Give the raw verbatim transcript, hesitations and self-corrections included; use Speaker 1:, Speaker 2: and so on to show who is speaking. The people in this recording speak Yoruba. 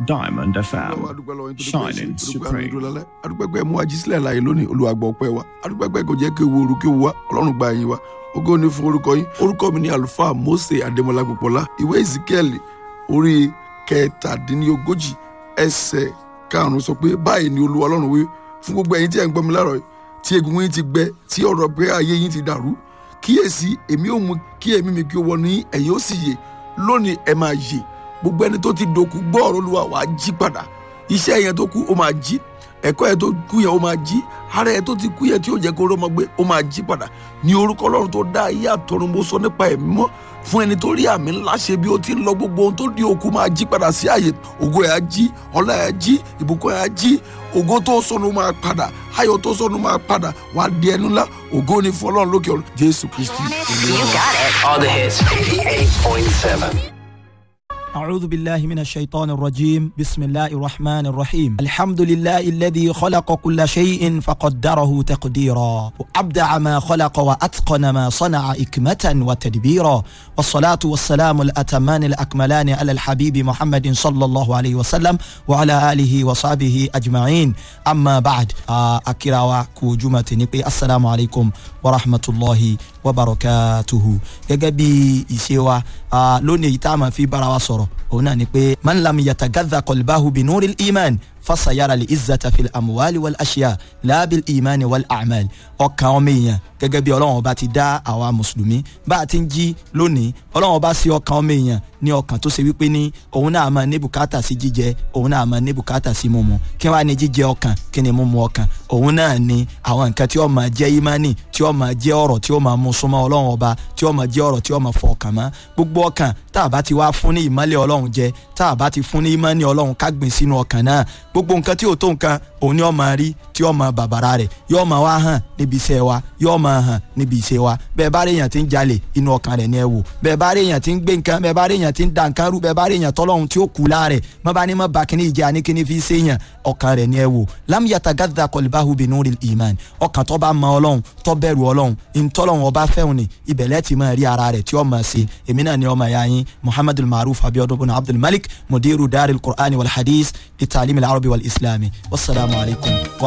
Speaker 1: Diamond
Speaker 2: Ọlọ́run,
Speaker 1: F M,
Speaker 2: a dúpẹ́ lọ́wọ́ yín torí pé ẹ ṣé,
Speaker 1: shining
Speaker 2: torí pé àánú
Speaker 1: supreme.
Speaker 2: dúró lálẹ́. A dúpẹ́ pé ẹ mú wa jí sílẹ̀ láàyè lónìí, Olúwa gbọ́ ọpẹ́ wa. A dúpẹ́ pé kò jẹ́ kí ewu òru kí ewu wá, Ọlọ́run gba ẹ̀yìn wa. Ògo ni fún orúkọ yín. Orúkọ mi ni Àlùfáà Mósè Adémọ́lá Pópóọlá. Ìwé Ezekiel orí kẹtàdínlógójì ẹsẹ̀ karùn-ún sọ pé báyìí ni Olúwa Ọlọ́run wí fún gbogbo ẹ̀yin tí ẹ̀ ń gbọ́ mi láàárọ̀ yìí, tí egungun yín ti gbẹ, tí ọ̀rọ̀ pé ayé yín ti dàrú. Kíyèsí, èmi ò mú kí ẹ̀mí mi kí ó wọnú yín, ẹ̀yin ó sì yè. Lónìí ẹ máa yè. Gbogbo ẹni tó ti dòkú gbọ́ ọ̀rọ̀ Olúwa, wàá jí padà. Iṣẹ́ yẹn tó kú ó máa jí, ẹ̀kọ́ yẹn tó kú yẹn ó máa jí, ara yẹn tó ti kú yẹn tí ó jẹ́ kó rọ́mọ gbé ó máa jí padà. Ní orúkọ Ọlọ́run tó dá ayé àtọ̀run, mo sọ nípa ẹ̀mí mọ́ fún ẹni tó rí àmì ńlá ṣe bí ó ti ń lọ, gbogbo ohun tó di òkú máa jí padà sí ààyè. Ògo ẹ̀ á jí, ọlá ẹ̀ á jí, ìbùkún ẹ̀ á jí, ògo tó sọnù máa padà, ayọ̀ tó sọnù máa padà, wàá di ẹnu ńlá. Ògo ni fún Ọlọ́run lókè ọ̀run. Jésù Kristi Olúwa wa.
Speaker 3: All the hits.
Speaker 4: eighty-eight point seven.
Speaker 5: أعوذ بالله من الشيطان الرجيم. بسم الله الرحمن الرحيم. الحمد لله الذي خلق كل شيء فقدره تقديرا، وأبدع ما خلق وأتقن ما صنع إكمة وتدبيرا، والصلاة والسلام الأتمان الأكملان على الحبيب محمد صلى الله عليه وسلم وعلى آله وصحبه أجمعين. أما بعد، آه، أكراوا كوجمة نقي. السلام عليكم ورحمة الله وبركاته. Gẹ́gẹ́ bí ìṣe wa, ah, lónìí èyí tá a máa fi bára wa sọ̀rọ̀ òun náà ni pé man lam yatagadha qalbahu binuril iman fasayara li izzata fil amuwali wal ashiya laabil imani wal amal. Ọkàn ọmọ èèyàn, gẹ́gẹ́ bí Ọlọ́run ọba ti dá àwa mùsùlùmí bá a ti ń jí lónìí, Ọlọ́run ọba sí ọkàn ọmọ èèyàn ní ọkàn tó ṣe wípé ní òun náà máa ní bùkátà sí jíjẹ, òun náà máa ní bùkátà sí mímu. Kí wàá ní jíjẹ ọkàn, kí ni mímu ọkàn? Òun náà ni àwọn nǹkan tí ó máa jẹ́ ìmánì, tí ó máa jẹ́ ọ̀rọ̀ tí ó máa mú súnmọ́ Ọlọ́run ọba, tí ó máa jẹ́ ọ̀rọ̀ tí ó máa fọ ọkàn mọ́. Gbogbo ọkàn tá a bá ti wá fún ní ìmọ́lẹ̀ Ọlọ́run jẹ, tá a bá ti fún ní ìmọ́ni Ọlọ́run ká gbìn sínú ọkàn náà, gbogbo nǹkan tí ò tó nǹkan òun ni ó máa rí, tí ó máa bàbàrà rẹ̀, yóò máa wá hàn níbi iṣẹ́ wa, yóò máa hàn níbi iṣẹ́ wa. Bẹ́ẹ̀ bá rí èèyàn tí ń jalè, inú ọkàn rẹ̀ ni ẹ wò. Bẹ́ẹ̀ bá rí èèyàn tí ń gbé nǹkan, bẹ́ẹ̀ bá rí èèyàn tí ń da nǹkan rú, bẹ́ẹ̀ bá rí èèyàn tọ́lọ́hun tí ó kú láàrẹ̀, má bá ní má ba kíní ìjẹ́ àní kíní fi ṣe èèyàn, ọkàn rẹ̀ ni ẹ wò. Lam yatagadda qalbahu binuril iman. Ọkàn tó bá mọ Ọlọ́run, tó bẹ̀rù Ọlọ́run, ìtọ́lọ́run ọba fẹ́hùn ni, ibẹ̀ lẹ́ẹ̀ ti máa rí ara rẹ̀ tí ó máa ṣe. Èmi náà ni ọmọ ìyá yín Muhammadul Maruf Abiodun bin Abdul Malik, mudiru daril Qur'ani wal hadith li ta'lim al arabi wal islami. Wasalaamu alaykum.